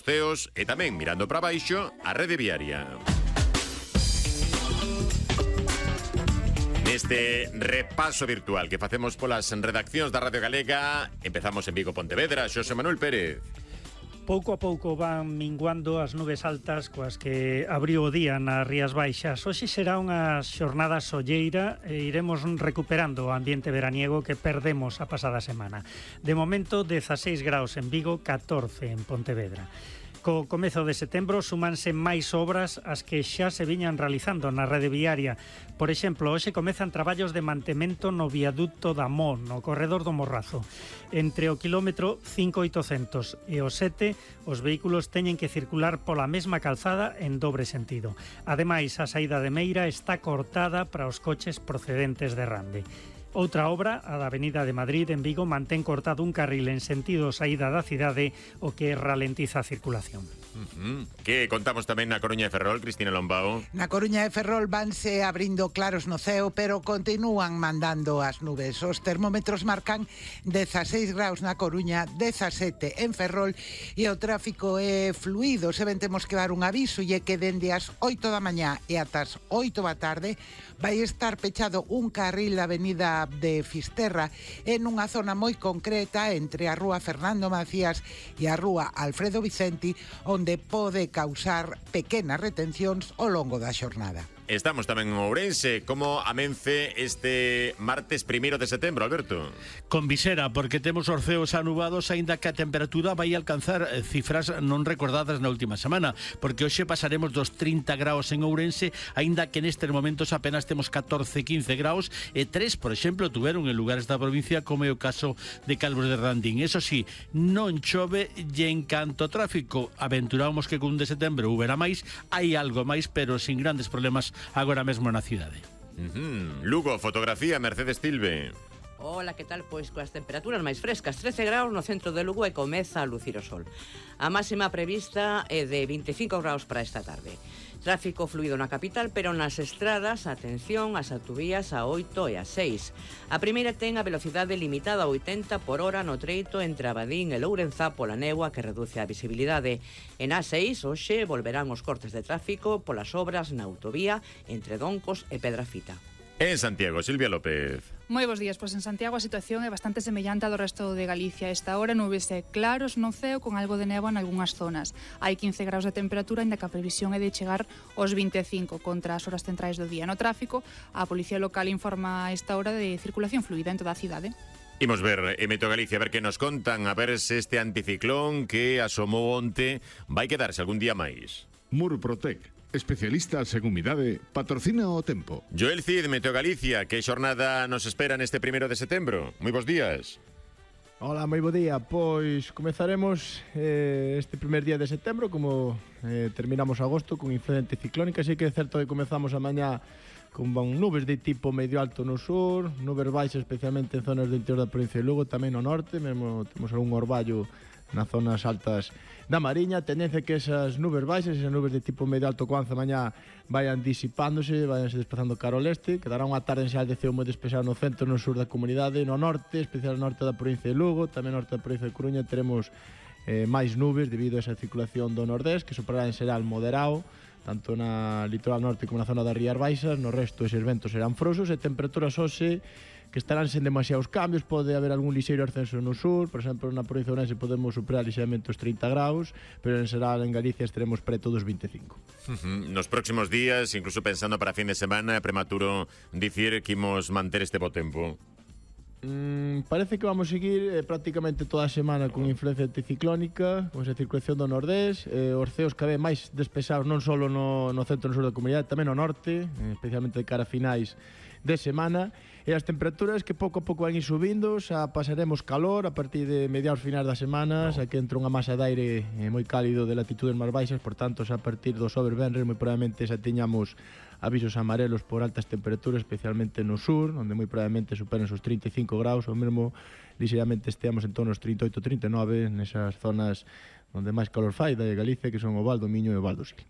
CEOs e tamén mirando para baixo a rede viaria. Neste repaso virtual que facemos polas redaccións da Radio Galega, empezamos en Vigo, Pontevedra. Xosé Manuel Pérez. Pouco a pouco van minguando as nubes altas coas que abriu o día nas Rías Baixas. Hoxe será unha xornada solleira e iremos recuperando o ambiente veraniego que perdemos a pasada semana. De momento, 16 graus en Vigo, 14 en Pontevedra. Co comezo de setembro súmanse máis obras as que xa se viñan realizando na rede viaria. Por exemplo, hoxe comezan traballos de mantemento no viaducto da Mo, no corredor do Morrazo. Entre o quilómetro 5800 e o 7, os vehículos teñen que circular pola mesma calzada en dobre sentido. Ademais, a saída de Meira está cortada para os coches procedentes de Rande. Outra obra, a da Avenida de Madrid en Vigo, mantén cortado un carril en sentido saída da cidade, o que ralentiza a circulación. Que contamos tamén na Coruña de Ferrol, Cristina Lombao. Na Coruña de Ferrol vanse abrindo claros no ceo, pero continúan mandando as nubes. Os termómetros marcan 16 graus na Coruña, 17 en Ferrol, e o tráfico é fluido. Se ben temos que dar un aviso, e é que dende as 8 da mañá e ata as 8 da tarde vai estar pechado un carril da avenida de Fisterra en unha zona moi concreta entre a rúa Fernando Macías e a rúa Alfredo Vicenti, onde pode causar pequenas retencións ao longo da xornada. Estamos tamén en Ourense. Como amence este martes 1 de setembro, Alberto? Con visera, porque temos os ceos anubados, aínda que a temperatura vai alcanzar cifras non recordadas na última semana, porque hoxe pasaremos dos 30 graus en Ourense, aínda que nestes momentos apenas temos 14-15 graus, e 3, por exemplo, tuveron en lugares da provincia, como é o caso de Calvos de Randín. Eso sí, non chove, e en canto ao tráfico, aventuramos que con 1 de setembro huberá máis, hai algo máis, pero sin grandes problemas agora mesmo na cidade. Lugo, fotografía, Mercedes Tilbe. Ola, que tal? Pois coas temperaturas máis frescas, 13 graus no centro de Lugo e comeza a lucir o sol. A máxima prevista é de 25 graus para esta tarde. Tráfico fluido na capital, pero nas estradas, atención, as autovías a 8 e a 6. A primeira ten a velocidade limitada a 80 por hora no treito entre Abadín e Lourenzá pola néboa que reduce a visibilidade. En A6, hoxe, volverán os cortes de tráfico polas obras na autovía entre Doncos e Pedrafita. En Santiago, Silvia López. Moi bons días, pois en Santiago a situación é bastante semellante á do resto de Galicia. Esta hora nubes claros no ceo con algo de néboa en algunhas zonas. Hai 15 graus de temperatura, ainda que a previsión é de chegar aos 25 contra as horas centrais do día. No tráfico, a Policía Local informa a esta hora de circulación fluida en toda a cidade. Imos ver en Meteo Galicia, a ver que nos contan, a ver se este anticiclón que asomou onte vai quedarse algún día máis. Murprotec, especialistas en humidade, patrocina o tempo. Joel Cid, Meteo Galicia, que xornada nos espera neste 1 de setembro? Moi bons días. Hola, moi bo día. Pois comezaremos este primer día de setembro, como terminamos agosto, con influencia anticiclónica. Así que é certo que comezamos a mañá con nubes de tipo medio alto no sur, nubes baixas especialmente en zonas do interior da provincia de Lugo, tamén no norte, mesmo temos algún orballo nas zonas altas da Mariña. Tendencia que esas nubes baixas, esas nubes de tipo medio alto coanza mañá vayan disipándose, vayanse desplazando cara ao leste, quedará unha tarde en xeral de ceo moi despexado no centro e no sur da comunidade, no norte, especial no norte da provincia de Lugo, tamén no norte da provincia de Coruña teremos máis nubes debido a esa circulación do nordés, que soprará en xeral moderado, tanto na litoral norte como na zona das Rías Baixas. No resto eses ventos serán frouxos e temperaturas hoxe que estarán sen demasiados cambios. Pode haber algún lixeiro ascenso no sur, por exemplo na provincia de Ourense podemos superar lixeiramente os 30 graus, pero en xeral en Galicia estaremos preto dos 25. Nos próximos días, incluso pensando para fin de semana, é prematuro dicir que imos manter este bo tempo. Parece que vamos seguir prácticamente toda a semana con influencia anticiclónica, con esa circulación do nordés, os ceos cada vez máis despexados non só no centro e no sur da comunidade, tamén no norte, especialmente de cara a finais de semana, e as temperaturas que pouco a pouco van ir subindo. Xa pasaremos calor a partir de mediados finais das semanas, aquí entra unha masa de aire moi cálido de latitudes máis baixas, por tanto xa a partir do xoves venres moi probablemente xa teñamos avisos amarelos por altas temperaturas, especialmente no sur, onde moi probablemente superen os 35 graus, ou mesmo lixeiramente esteamos en torno aos 38-39 nesas zonas onde máis calor fai da Galicia, que son o Val do Miño e o Val do Sil.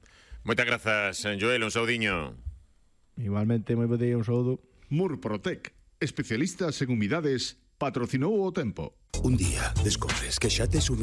Moitas grazas, Joel, un saudiño. Igualmente, moi bo día, un saúdo. Murprotec, especialistas en humidades, patrocinou o tempo. Un día descobres que xa te